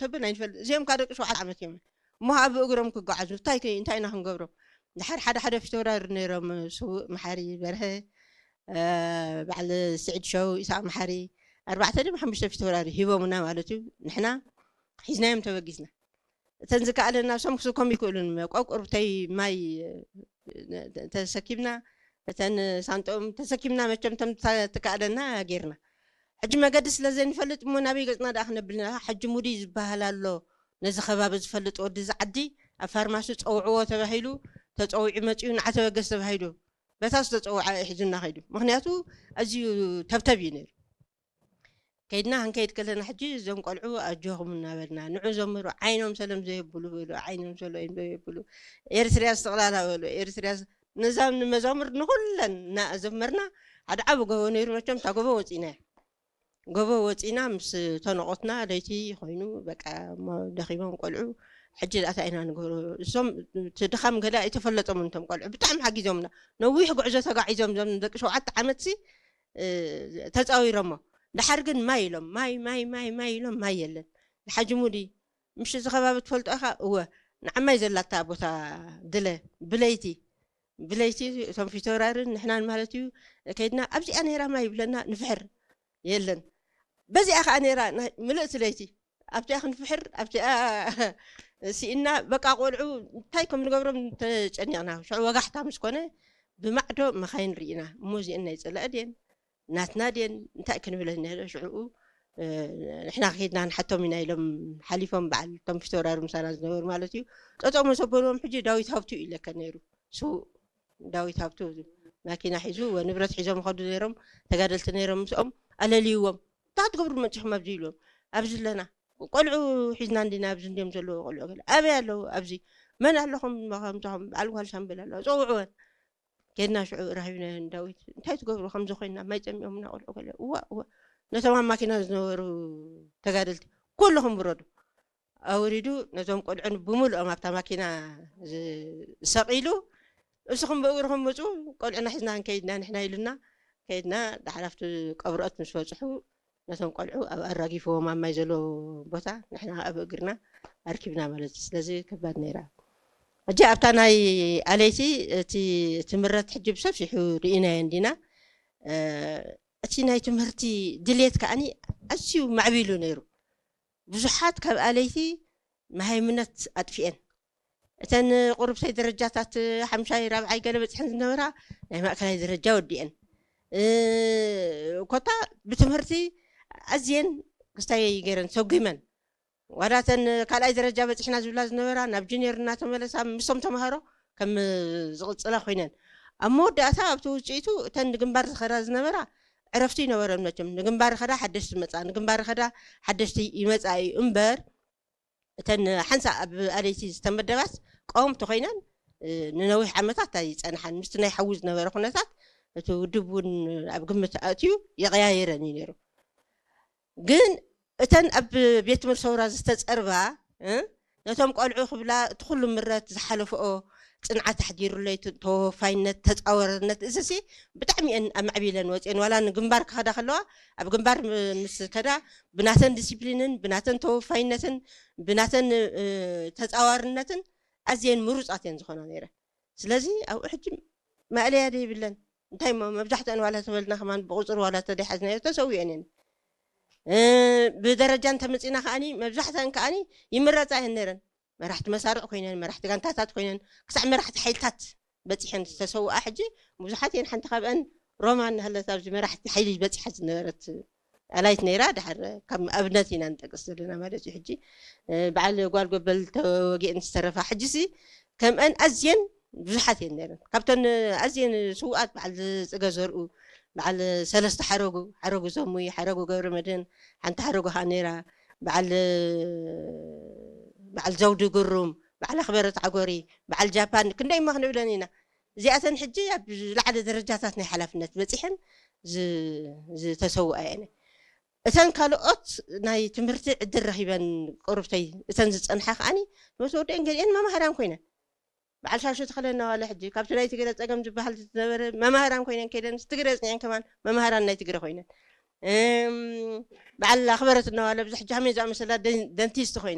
ተብን ኣይንፈልጥ። እዚኦም ካብ ደቂ ሸውዓተ ዓመት እዮም። እሞ ኣብ እግሮም ክጓዓዙ እንታይ ከ-፣ እንታይ ኢና ክንገብሮም? ድሓር ሓደ ሓደ ፊተውራሪ ነይሮም፣ ስውእ መሓሪ በርሀ፣ እ፣ በዓል ስዒድ ሸው፣ ኢሳቅ መሓሪ፣ ኣርባዕተ ድም ሓሙሽተ ፊተውራሪ ሂቦምና ማለት እዩ። ንሕና ሒዝናዮም ተበጊስና። እተን ዝከኣለና፣ እሶም ክስኮም ይክእሉን፣ ቆቁርብተይ ማይ ተሰኪምና፣ እተን ሳንጦም ተሰኪምና፣ መቸም ተም ትከኣለና ጌርና። ሕጂ መገዲ ስለ ዘይንፈልጥ እሞ ናበይ ገጽና ደኣ ክነብልና? ሕጂ ሙድይ ዝበሃል ኣሎ፣ ነዚ ከባቢ ዝፈልጥ ወዲ እዚ ዓዲ ኣብ ፋርማሲ ጸውዕዎ ተባሂሉ፣ ተጸዊዑ መጺኡ፣ ንዓ ተበገስ ተባሂሉ፣ በታ ዝተጸውዓ እዩ ሒዙና ከይዱ። ምኽንያቱ ኣዝዩ ተብተብ እዩ ነይሩ። ከይድና ክንከይድ ከለና ሕጂ እዞም ቆልዑ ኣጆኹም እናበልና ንዑ ዘምሩ፣ ዓይኖም ሰሎም ዘየብሉ በሉ፣ ዓይኖም ሰሎም ዘየብሉ፣ ኤርትርያ ዝተቕላላ በሉ፣ ኤርትርያ ስ-፣ ነዛም ንመዛሙር ንኹለን እናዘመርና ሓደ ዓቢ ጎቦ ነይሩ። መቸም እታ ጎቦ ወፂና፣ ጎቦ ወፂና ምስ ተነቆትና ለይቲ ኮይኑ በቃ እሞ ደኺሞም ቆልዑ። ሕጂ ደኣ እንታይ ኢና ንገብሮ? እሶም እቲ ድኻም ገለ ኣይተፈለጦምን እቶም ቆልዑ፣ ብጣዕሚ ሓጊዞምና። ነዊሕ ጉዕዞ ተጋዒዞም እዞም ደቂ ሸውዓተ ዓመት ሲ እ፣ ተጻዊሮሞ። ድሓር ግን ማይ ኢሎም፣ ማይ፣ ማይ፣ ማይ፣ ማይ ኢሎም፣ ማይ የለን። ንሓጂ ሙዲ፣ "ምሽ እዚ ከባቢ ትፈልጦ ኢኻ?" "እወ፣ ንዓማይ ዘላታ ቦታ ድለ፣ ብለይቲ፣ ብለይቲ እቶም ፊተውራርን ንሕናን ማለት እዩ፣ ከይድና ኣብዚኣ ነይራ ማይ ይብለና፣ ንፍሕር፣ የለን። በዚኣ ኸኣ ነይራ ናይ ምልእቲ ለይቲ፣ ኣብቲኣ ክንፍሕር፣ ኣብቲኣ ስኢና፣ በቃ ቆልዑ እንታይ ከም ንገብሮም ተጨኒቕና። ሽዑ ወጋሕታ ምስ ኮነ፣ ብማዕዶ መኻይን ርኢና፣ እሞ እዚአን ናይ ጸላኢ ድየን?" ናትና ድየን እንታይ ክንብለን ንኽእል? ሽዕኡ፣ እ፣ ንሕና ከይድና ንሓቶም ኢና ኢሎም ሓሊፎም፣ በዓል እቶም ፊተውራሪ ምሳና ዝነበሩ ማለት እዩ። ጠጠው መሰበልዎም። ሕጂ ዳዊት ሃብቱ እዩ ለከ ነይሩ፣ ስዉእ ዳዊት ሃብቱ። ማኪና ሒዙ ወንብረት ሒዞም ይኸዱ ነይሮም፣ ተጋደልቲ ነይሮም። ምስኦም ኣለልይዎም፣ "እንታይ ትገብሩ መጺኹም ኣብዚ?" ኢልዎም። "ኣብዚ ኣለና፣ ቆልዑ ሒዝና እንዲና፣ ኣብዚ እንዲዮም ዘለዉ ቆልዑ ገለ። ኣበይ ኣለዉ? ኣብዚ። መን ኣለኹም? ከምዚኹም በዓል ጓል ሻምበል ኣለዋ፣ ጸውዕወን።" ከድና ሽዑ ራኺብናዮ ንዳዊት፣ "እንታይ ትገብሩ ከምዚ ኮይንና? ማይ ጸሚኦምና ቆልዑ ገለ?" "እዋ፣ እዋ፣ ነቶም ኣብ ማኪና ዝነበሩ ተጋደልቲ ኩልኹም ውረዱ።" ኣውሪዱ ነዞም ቆልዑ ብምልኦም ኣብታ ማኪና ዝ-፣ ሰቒሉ፣ "እስኹም ብእግርኹም ምጹ፣ ቆልዑና ሒዝና ክንከይድ ኢና ንሕና" ኢሉና። ከይድና፣ ደሓር ኣብቲ ቀብርኦት ምስ በጽሑ፣ ነቶም ቆልዑ ኣብ ኣራጊፍዎም ኣብ ማይ ዘሎ ቦታ፣ ንሕና ኣብ እግርና ኣርኪብና ማለት እዩ። ስለዚ ከባድ ነይራ። ሕጂ ኣብታ ናይ ኣለይቲ እቲ ትምረት ሕጂ ብሰፊሑ ርኢናዮ እንዲና። እ፣ እቲ ናይ ትምህርቲ ድሌት ከኣኒ ኣዝዩ ማዕቢሉ ነይሩ። ብዙሓት ካብ ኣለይቲ መሃይምነት ኣጥፊኤን። እተን ቁርብተይ ደረጃታት ሓምሻይ፣ ራብዓይ ገለ በጽሐን ዝነበራ ናይ ማእከላይ ደረጃ ወዲኤን። እ፣ ኮታ ብትምህርቲ ኣዝየን ክስታይ ገይረን ሰጒመን። ዋላ እተን ካልኣይ ደረጃ በጺሕና ዝብላ ዝነበራ ናብ ጁኒየር እናተመለሳ ምስቶም ተምሃሮ ከም ዝቕጽላ ኮይነን። ኣብ መወዳእታ ኣብቲ ውጽኢቱ እተን ንግንባር ዝኸዳ ዝነበራ ዕረፍቲ ይነበረን መቸም። ንግንባር ኸዳ ሓደሽቲ መጻ፣ ንግንባር ኸዳ ሓደሽቲ ይመጻ እዩ እምበር፣ እተን ሓንሳእ ኣብ ኣለይቲ ዝተመደባስ ቀወምቲ ኮይነን፣ እ፣ ንነዊሕ ዓመታት ኣይጸንሓን። ምስቲ ናይ ሓዊ ዝነበረ ኩነታት እቲ ውድብ እውን ኣብ ግምት ኣእትዩ ይቐያየረን እዩ ነይሩ። ግን እተን ኣብ ቤት ትምህርቲ ሰውራ ዝተጸርባ፣ እ፣ ነቶም ቆልዑ ክብላ እቲ ኩሉ ምረት ዝሓለፍኦ ጽንዓት ኣሕዲሩለይ፣ ት-፣ ተወፋይነት፣ ተጻዋርነት፣ እዚሲ ብጣዕሚ እየን ኣማዕቢለን ወጽየን። ዋላ ንግንባር ክኸዳ ከለዋ፣ ኣብ ግንባር ም-፣ ምስ ከዳ ብናተን ዲሲፕሊንን ብናተን ተወፋይነትን ብናተን፣ እ፣ ተጻዋርነትን ኣዝየን ምሩጻት እየን ዝኾና ነይረን። ስለዚ ኣብኡ ሕጂ ማእለያ ዘይብለን። እንታይ እሞ መብዛሕትአን ዋላ ተበልና ከማን ብቁጽሪ ዋላ ተደሓዝናዮ ተሰዊአን እየን። እ፣ ብደረጃ እንተመጺና ከኣኒ መብዛሕትአን ከኣኒ ይምረጻ እየን ነይረን። መራሕቲ መሳርዕ ኮይነን፣ መራሕቲ ጋንታታት ኮይነን፣ ክሳዕ መራሕቲ ሓይልታት በጺሐን ዝተሰውኣ ሕጂ ብዙሓት እየን። ሓንቲ ካብአን ሮማ እናሃለት ኣብዚ መራሕቲ ሓይሊ በጺሓ ዝነበረት ኣላይት ነይራ። ድሓር ከም ኣብነት ኢና ንጠቅስ ዘለና ማለት እዩ። ሕጂ፣ እ፣ በዓል ጓል ጎበል ተወጊአን ዝተረፋ ሕጂሲ ከምአን ኣዝየን ብዙሓት እየን ነይረን። ካብተን ኣዝየን ስውኣት በዓል ዝጽገ ዘርኡ፣ በዓል ሰለስተ ሓረጉ፣ ሓረጉ ዘሙይ፣ ሓረጉ ገብረ መድህን፣ ሓንቲ ሓረጉ ኸኣ ነይራ፣ በዓል፣ በዓል ዘውዲ ግሩም፣ በዓል ኣኽበረት ዓጎሪ፣ በዓል ጃፓን፣ ክንደይ እሞ ክንብለን ኢና። እዚኣተን ሕጂ ኣብ ዝለዓለ ደረጃታት ናይ ሓላፍነት በጺሐን ዝ-፣ ዝተሰውኣ እየን። እተን ካልኦት ናይ ትምህርቲ ዕድል ረኺበን ቁርብተይ፣ እተን ዝጸንሓ ከኣኒ፣ ምስ ወደን ገሊአን መማህራን ኮይነን። በዓል ሻሹ ተኽለና ዋላ ሕጂ፣ ካብቲ ናይ ትግረ ጸገም ዝበሃል ዝነበረ መማህራን ኮይነን ከይደን፣ ትግረ ጽኒዐን ከማን መማህራን ናይ ትግረ ኮይነን። እም፣ በዓል ኣኽበረት እናዋለ ብዙሕ ጃህሜ ዝኣመሰላ ደን- ደንቲስት ኮይና።